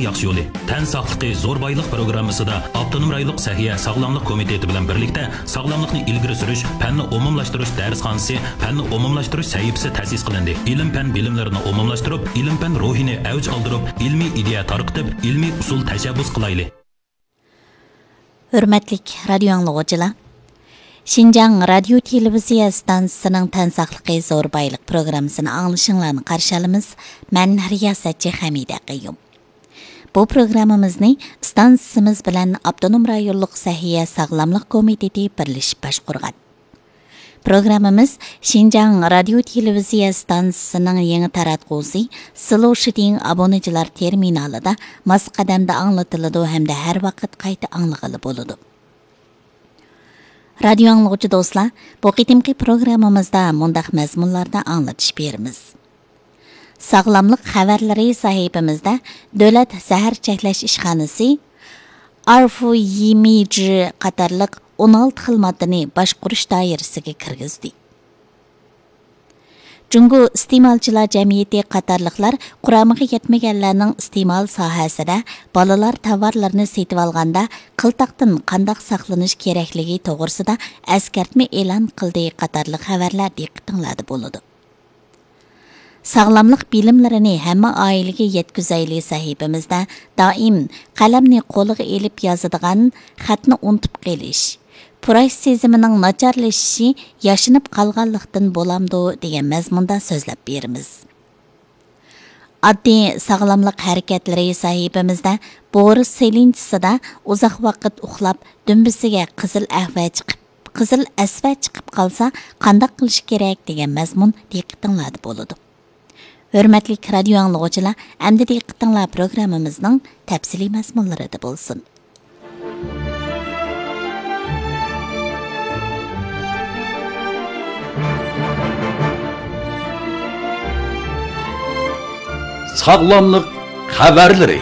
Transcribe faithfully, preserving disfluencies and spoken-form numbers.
ياخشى يولى. تەن ساقلىقى زور بايلىق پروگراممىسىدا ئاپتونوم رايونلۇق سەھىيە ساغلاملىق كومىتېتى بىلەن بىرلىكتە ساغلاملىقنى ئىلگىرى سۈرۈش پەننى ئومۇملاشتۇرۇش دەرسخانىسى، پەننى ئومۇملاشتۇرۇش سەھىپىسى تەسىس قىلىندى. ئىلىم-پەن بىلىملىرىنى ئومۇملاشتۇرۇپ، ئىلىم-پەن روھىنى ئەۋج ئالدۇرۇپ، ئىلمىي ئىدىيە تارقىتىپ، ئىلمىي ئۇسۇل تەشەببۇس قىلايلى. ھۆرمەتلىك رادىيو ئاڭلىغۇچىلار، شىنجاڭ رادىيو تېلېۋىزىيە ئىستانسىسىنىڭ تەن ساقلىقى زور بايلىق پروگراممىسىنى ئاڭلىشىڭلارنى قارشى ئالىمىز. مەن رىياسەتچى خەمىدە قەييۇم. بۇ پروگراممىمىزنى ئىستانسىسىمىز بىلەن ئاپتونوم رايونلۇق سەھىيە ساغلاملىق كومىتېتى بىرلىشىپ باشقۇرغان. پروگراممىمىز شىنجاڭ رادىيو تېلېۋىزىيە ئىستانسىسىنىڭ يېڭى تاراتقۇسى سلوشىدىڭ ئابۇنىچىلار تېرمىنالىدا ماس قەدەمدە ئاڭلىتىلىدۇ ھەمدە ھەر ۋاقىت قايتا ئاڭلىغىلى بولىدۇ. رادىيو ئاڭلىغۇچى دوستلار، بۇ قېتىمقى پروگراممىمىزدا مۇنداق مەزمۇنلاردا ئاڭلىتىش بېرىمىز. ساغلاملىق خەۋەرلىرى سەھىپىمىزدە دۆلەت زەھەر چەكلەش ئىشخانىسى ئارفۇيىمىجى قاتارلىق ئون ئالتە خىل ماددىنى باشقۇرۇش دائىرىسىگە كىرگۈزدى. جۇڭگو ئىستېمالچىلار جەمئىيىتى قاتارلىقلار قۇرامىغا يەتمىگەنلەرنىڭ ئىستېمال ساھەسىدە بالىلار تاۋارلىرىنى سېتىۋالغاندا قىلتاقتىن قانداق ساقلىنىش كېرەكلىكى توغرىسىدا ئەسكەرتمە ئېلان قىلدى قاتارلىق خەۋەرلەر دىققىتىڭلاردا بولىدۇ. ساغلاملىق بىلىملىرىنى ھەممە ئائىلىگە يەتكۈزەيلى سەھىپىمىزدە دائىم قەلەمنى قولىغا ئېلىپ يازىدىغان، خەتنى ئۇنتۇپ قېلىش، پۇراش سېزىمىنىڭ ناچارلىشىشى ياشىنىپ قالغانلىقتىن بولامدۇ دېگەن مەزمۇندا سۆزلەپ بېرىمىز. ئاددىي ساغلاملىق ھەرىكەتلىرى سەھىپىمىزدە بورس سېلىنچىسىدا ئۇزاق ۋاقىت ئۇخلاپ، دۈمبىسىگە قىزىل ئەھۋە چىقىپ، قىزىل ئەسۋە چىقىپ قالسا قانداق قىلىش كېرەك دېگەن مەزمۇن دىققىتىڭلاردا بولىدۇ. ھۆرمەتلىك رادىيو ئاڭلىغۇچىلار، ئەمدى دىققىتىڭلار پروگراممىمىزنىڭ تەپسىلىي مەزمۇنلىرىدا بولسۇن. ساغلاملىق خەۋەرلىرى.